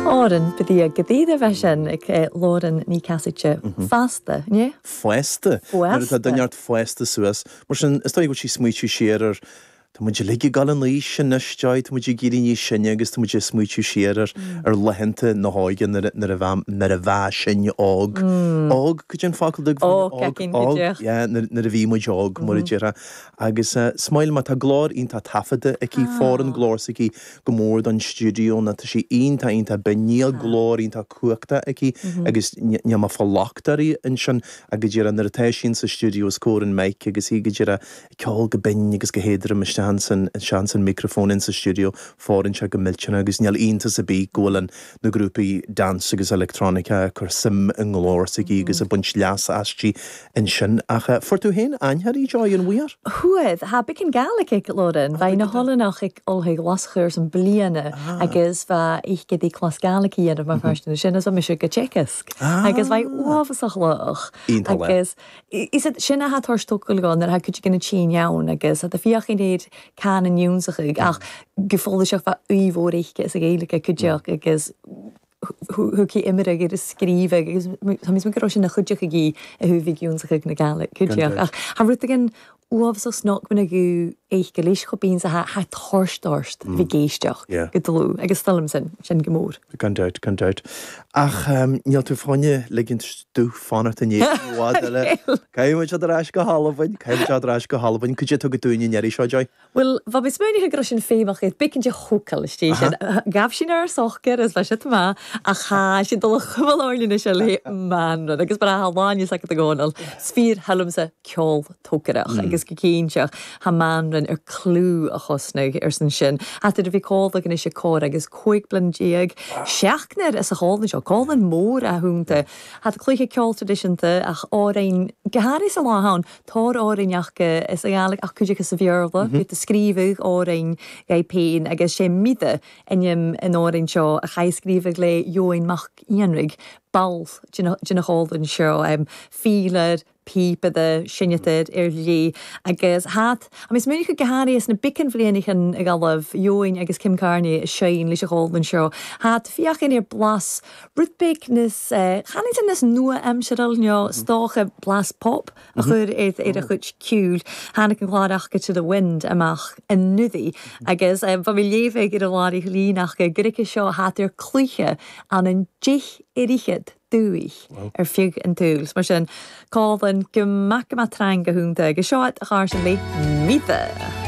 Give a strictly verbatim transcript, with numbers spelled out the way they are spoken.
Áran b'dí go dtí a bheith sin ag Lauren Ní Chasaide fásta, ní? Fásta. Nuair atá duine ort fásta suas. Mar sin is dóigh go bhfuil sí smaoitiú siar ar Tá muid uilig ag dul in aois anois, Joy, tá muid ag éirí níos sine agus tá muid ag smaoitiú siar ar ar laethanta na hóige nuair a nuair a bheith nuair a bheadh sinn óg. Óg, cad é an focal dug Óg, óg, óg, yeah, nuair nuair a bhí muid óg, mar a déarfá. Agus smaoil má tá glór iontach taifeadta aici, fóireann glór s'aici go mór don stiúideo nó tá sí iontach iontach binn, níl glór iontach cumhachtach aici agus níl mé ag fáil locht uirthi ansin ach go díreach nuair atá sí sa stiúideo os comhair an mic agus í go díreach ag ceol go binn agus go héadrom isteach ansan isteach ansan micreafón insa stiúideo, fóireann sé go millteanach agus níl iontas ar bith go bhfuil an na grúpaí dance agus electronica ag cur suim i nglór s'aici agus ag baint leas aisti ansin. Ach fuair tú féin aithne uirthi, Joy, an bhfuair? Fuair, tha beagan Gàidhlig ag Lauren, bha na hOllanach ag olthaigh laschuir san bliana agus bha ich di clas Gàidhlig a dhéanamh mar pháiste sin is mise go Teagasc. Agus bha uafásach lách. Iontach lách. Agus is sin a tharstó go nuair a chuid gona tí ann agus a fiachin iad can an niúnsachaigh ach go fóiseach bheith uímhór éice is a Ghaeilge cuideach agus thucí imir ar a scríbh agus tá mis go sin na chuideach í a thu bhí giúnsachaigh na Gàidhlig cuideach ach tha rud again uafásach snocman a gu éice leis cho bíonn a ha thorstort bhí géisteach go dlúth agus stolm sin sin go mór. Gan dabht, gan dabht. Ach níl tú fáinne ligint dú fanacht i bhfad eile. Caithfidh muid ar ais go hAlbain, caithfidh muid ar ais go hAlbain, cad é atá agat dúinn an iarraidh seo, Joy? Well, bha mi smaoineach go raibh sin féimach iad bicin de chocail istigh sin. Gabh sin ar socair is bheith sé ma ach tha sin dul a chuimhleáin se le man agus bar a láine sa a gcónal. Sfíor helamsa ceol tócaireach agus go cinnteach tha Manran ar clú a chosnaigh ar san sin. Hat idir bhí cóla gan is cóir agus cúig bliana déag seachnair as a chálan seo, cálan mór a thúnta. Hat cluiche ceol traidisiúnta ach árain go sa lá ann tá árainneach is a Gàidhlig ach cuideach sa Bhéarla, mm -hmm. scríobhadh árainn gai péin agus sé míde inam in árainn seo a chai scríobhadh le Eoin Mac Ianraigh ball duna chálan seo um, fílar pípada sinnetar ar lé agus hat a mis mé go gohaí is na bican bhlianaichan a galh Eoin agus Kim Carney sein leis a chálan seo hat fiachan ar blas rud beag nis chan sin nis nua aimsearach neo stocha blas pop a chur ar ar a chuid ceoil tháinig an chlárach to the wind amach an nudaí agus ba mé léomh ar a láí línach go gurice seo hat ar cluiche an an dich irichead dúich ar fiú an túil mar sin cálan go mac go trang go húnta agus seo a char sin le míde.